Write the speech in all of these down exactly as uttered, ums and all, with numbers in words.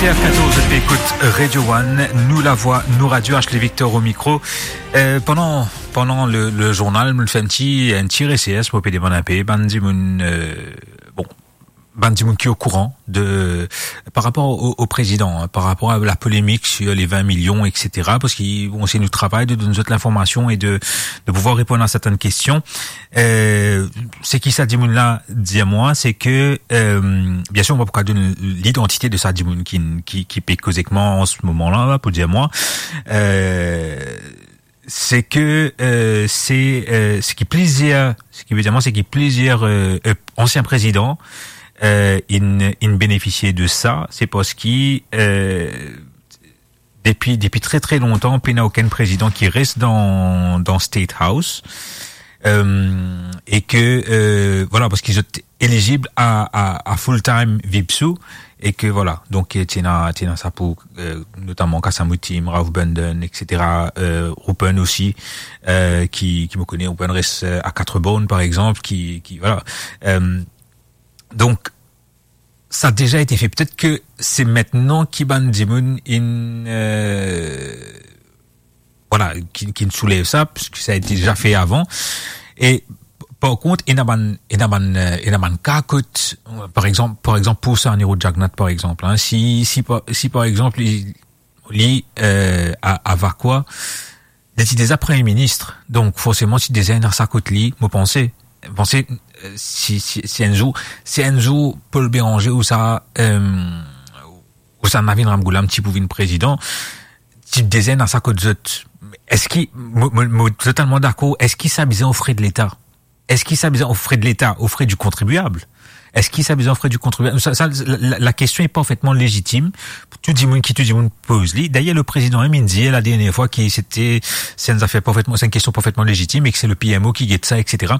F katorz, zot pe ekout Radio One, nou lavwa, nou radio, Ashley Victor o mikro. Eh, pandan, pandan le, le zournal, mo fer enn ti, enn ti resers, mo pe demann inpe bann dimoun, eh, bon, bann dimoun ki okouran de, par rapor o, o prezidan, hein, par rapor a la polemik sir le vin milion, et cetera, parski, bon, se nou travay de donn zot linformasion e de, de pouvwar reponn a sertenn kestion. Eh, seki sa dimoun la dir mwa, se ke, eh, biensir, mo pa pou kav donn lidantite de sa dimoun ki, ki, ki pe koz ek mwa an se moman la, la, pou dir mwa. Eh, se ke, eh, se, eh, seki plizier, seki ve dir mwa, seki plizier, eh, eh, ansien prezidan, eh, inn, inn benefisie de sa, se parski, eh, depi, depi tre, tre lontan, pena okenn prezidan ki res dan, dan State House. Eh, e ke, eh, vwala, parski zot elizib a, a, a full-time VPSU, e ke, vwala, donk, eh, ti ena, ti ena sa pou, eh, notaman Khasamutim, Rauf Bundon, et cetera, eh, Rupen osi, eh, ki, ki mo kone, Rupen res, eh, a Quatre Bornes, par exanp, ki, ki, vwala. Eh, donk, sa deza ete fe. Petet ke se aster ki bann dimoun inn, eh, vwala, ki, ki inn soulev sa, piski sa ete deza fe avan. E par kont, ena bann, ena bann, eh, ena bann ka kot, par exanp, par exanp, pou Sir Anirudh Jagannath, par exanp, hein, si, si par, si par exanp, li, li, eh, a, a Vacoas, li ti deza premie minis, donk forseman ti deza ena sa kot li, mo panse. Panse, eh, si, si, si enn zour, si enn zour Paul Bérenger ou sa, eh, ou sa Navin Ramgoolam ti pou vinn prezidan, ti deza ena sa kot zot. Eski, mo, mo, mo totalman dakor, eski sa bizin o fre de Leta? Eski sa bizin o fre de Leta, o fre di kontribiab? Eski sa bizin o fre di kontribiab? Sa, sa, la, la, la kestion est parfaitement légitime. Tou dimoun ki, tou dimoun poz li. Dayer, le prezidan mem inn dir la dernie fwa ki sete, se enn zafer parfaitement, se enn kestion parfaitement légitime e ki se le PMO ki get sa, et cetera.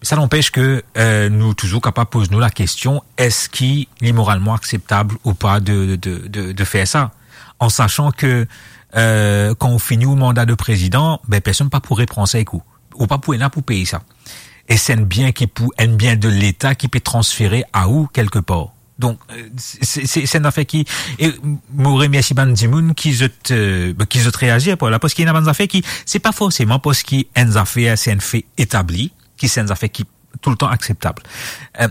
Sa n'anpes ke, eh, nou touzour kapav poz nou la kestion, eski li moralman akseptab ou pa de, de, de, de fer sa? An sasan ke, eh, kan ou fini ou manda de prezidan, be, personn pa pou repran sa ek ou. Ou pa pou ena pou pey sa. E se enn bien ki pou, enn bien de Leta ki pe transfere a ou kelkepar. Donk, eh, se, se, se, se enn zafer ki, e mo remersie bann dimoun ki zot, eh, ki zot reazir par la, parski ena bann zafer ki, se pa forseman parski enn zafer se enn fe etabli, ki se enn zafer ki toultan akseptab. Eh,